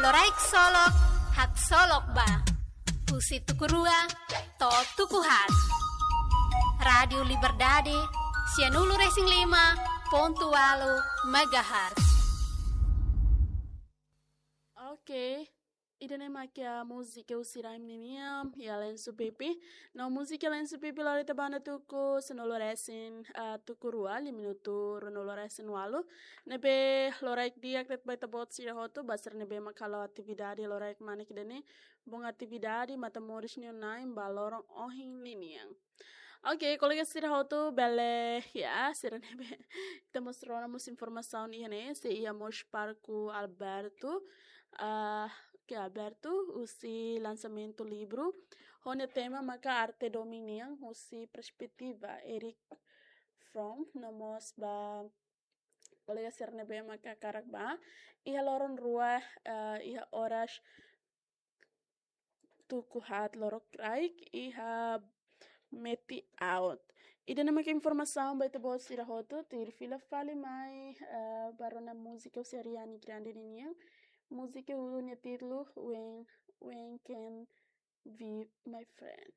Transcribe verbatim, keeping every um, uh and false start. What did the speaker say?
Loraik solok, haksolok ba. Husi tuku rua to'o tuku haat. Rádiu Liberdade, sianulu-resin-lima pontu ualu megahertz. Oke, ida-ne'e mak iha múzika husi Raim ninian, iha Lensu Pipi. No múzika Lensu Pipi lori ita ba ona tuku sanulu-resin, ah, tuku rua, liu minutu ruanulu-resin-ualu. Ne'ebé loraik di'ak de'it ba ita-boot sira hotu, ba sira ne'ebé mak halo atividade loraik manek ida-ne'e. Bom atividade, matan moris nia na'in ba loron ohin ninian. Oke, kolega sira hotu bele, ya, sira ne'ebé ita mós rona mós informasaun iha ne'e, sei iha mós Parku Alberto, ah, ke Alberto, husi lansamentu livru. Ho nia tema maka Arte Domin nian, husi perspetiva Erich Fromm, no mós ba kolega sira ne'ebé maka hakarak ba. Iha loron rua, eh, iha oras tuku haat lorokraik, iha Meti Out. Ida-ne'e mak informasaun ba ita-boot sira hotu, tuir fila fali mai, eh, ba rona múzika husi Ariana Grande ninian. Múzika nia títulu When, When Can Be My Friend.